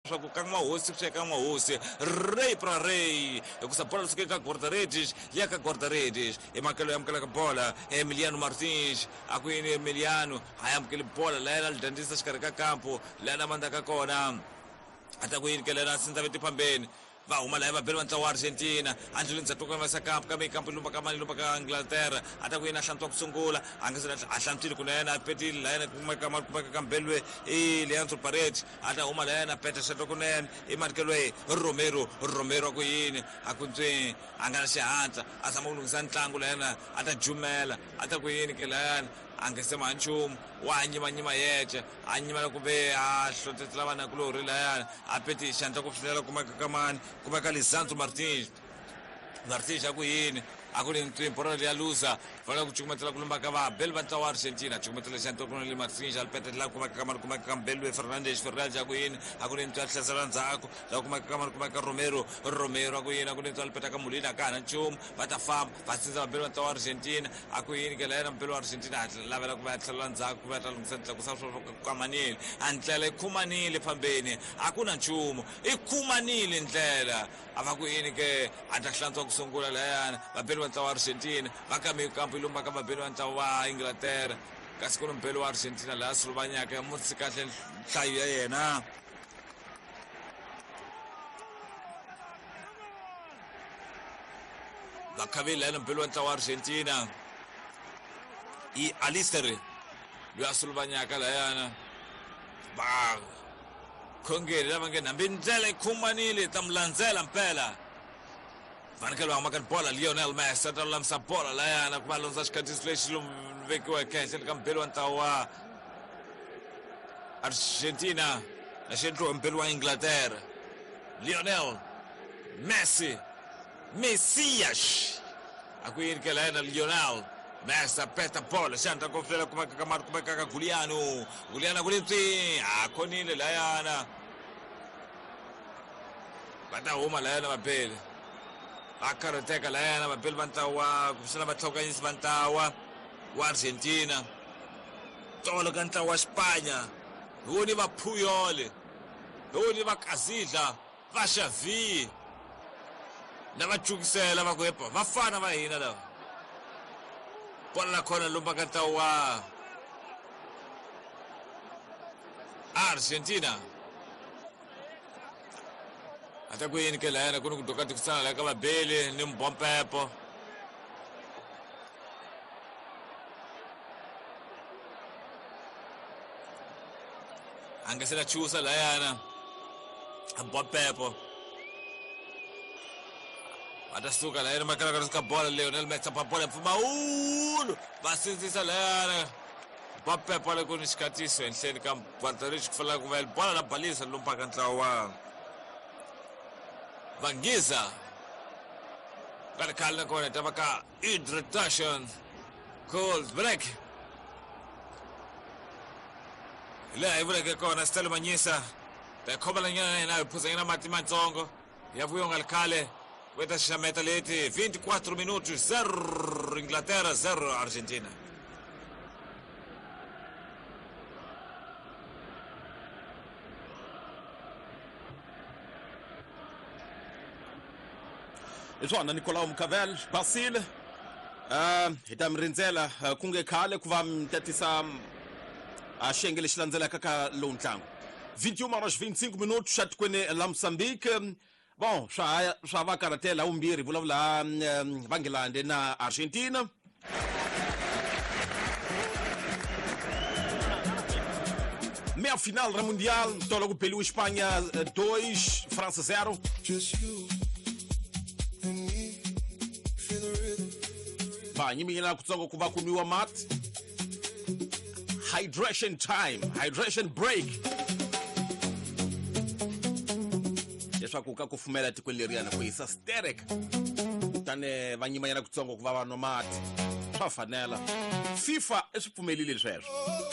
Swa ku ka n'wahosi swi ya ka n'wahosi rey pra rey hikusa bola lisuka eka guarda-redes ya ka guarda-redes emakelo ya amukelaka bola Emiliano Martins a ku yini Emiliano a ya amukeli bola la yena lidandzisa xikarhi ka kampo la yena mandzaka kona a ta ku yini ke lena sindza veti phambeni va huma laha va beli va ntlawa wa Argentina a ndleleni ndzhaku ka vasa kampo kambe kampo lumba ka mani lumba ka Inglaterra a ta ku yini a hlantswa ku sungula a nga se a hlantswile kunene a petile la yena kumeka ma kumeka ka mbelwe i Leandro Paredes a ta huma la yena peta xato kunene i manikelo Romero Romero a ku yini a ku ntswi a nga na xihatla a zama ku lunghisa ntlangu la yena a ta jumela a ta ku yini ke la yena a nga se ma nchumu wa nyimanyima yexe a nyimela kumbe a hlohletela vanakulorhi layani a peti xandla ku fikelela kumeka ka mani kumeka Lisandro Martins Martins a ku yini a ku ri ntlimbo ra ya luza fanele ku cukumetela ku lumba ka vabeli va ntlawa wa Argentina cukumetela xandla ku le Martins a petela kumeka ka mani kumeka ka Mbelwe Fernandes Fernandes a ku yini a ku ri ntwa hlasela ndzhaku la kumeka ka mani kumeka Romero Romero a ku yini a ku ri ntwa peta ka Molina ka hana nchumu va ta famba va sindza vabeli va ntlawa wa Argentina a ku yini ke la yena mubeli wa Argentina a lavela ku va ya tlhelela ndzhaku ku va ya ta lunghisa tlakusa swa kamanile a ndlela i khumanile fambeni a ku na nchumu i khumanile ndlela a va ku yini ke a ta hlantswa ku sungula layana vabeli va ntlawa wa Argentina va kame kampo yi lumba ka vabeli va ntlawa wa Inglaterra kasi ku ni mubeli wa Argentina laha suluvanyaka mutsi kahle nhlayo ya yena vakhaveli layena mubeli wa ntlawa wa Argentina i Alister loyi a suluvanyaka layana va khongeri lava nge hambi ndlela yi khumanile ta mu landzela mpela fanekele va humaka ni bola Lionel Messi a ta lulamisa bola layana ku va londza xikhathisi lexi vekiweke ehenhleni ka mubeli wa ntlawa wa Argentina na xi endliwa mubeli wa Inglaterra Lionel Messi Messias a ku yini ke layena Lionel Messi a peta bola xandla ku flela kumeka ka mari kumeka ka Giuliano Giuliano ku ri ntswi a khonile layana va ta huma layana vabeli va karhateka layana vabeli va ntlawa kumbexana vatlhokanyisi va ntlawa wa Argentina tolo ka ntlawa wa Spanya hi woni va Puyol hi woni va Kazidla va Xavi na va cukisela va ku epa va fana va hina lava bola la khona lumba ka ntlawa wa Argentina a ta ku yini ke layana ku ni ku doka tikisana la ka vabeli ni mbompepo a nga se la chusa layana mbompepo va ta suka layana makalakala ka bola Lionel Messi pa bola mpfumawulo va sindzisa layana Mbappe le ku ni xikatiso ehenhleni ka Guardarich ku fanele ku va bola la balisa lumpaka ntlawa wa Vangiza ka ri khale nakona ta va ka introduction cold break hi laha hi vuleke kona Stella Manyisa ta yi khomela nyana na hina hi phuzanyana mati matsongo ya vuyo nga ri khale ku ta xaxameta leti 24 minutos 0 Inglaterra 0 Argentina. Hi swona Nicolau Mcavel Basile hi ta mi rindzela ku nge khale ku va mi tatisa xiyenge lexi landzelaka ka lowu ntlangu 21 horas 25 minutos xa tikweni la Mozambique. Bon swa ha swa va karhatela vumbirhi vulavula va Nghilandhi na Argentina. Meia final ra Mundial, tolo ku beliwe Espanha 2, França 0. Va nyiminyela kutsongo ku va ku nwiwa mati. Hydration time, hydration break. Leswaku ka kufumela tikweni leriyana ku hisa sterek kutani va nyimanyana kutsongo ku va va nwa mati swa fanela FIFA i swi pfumelile sweswo.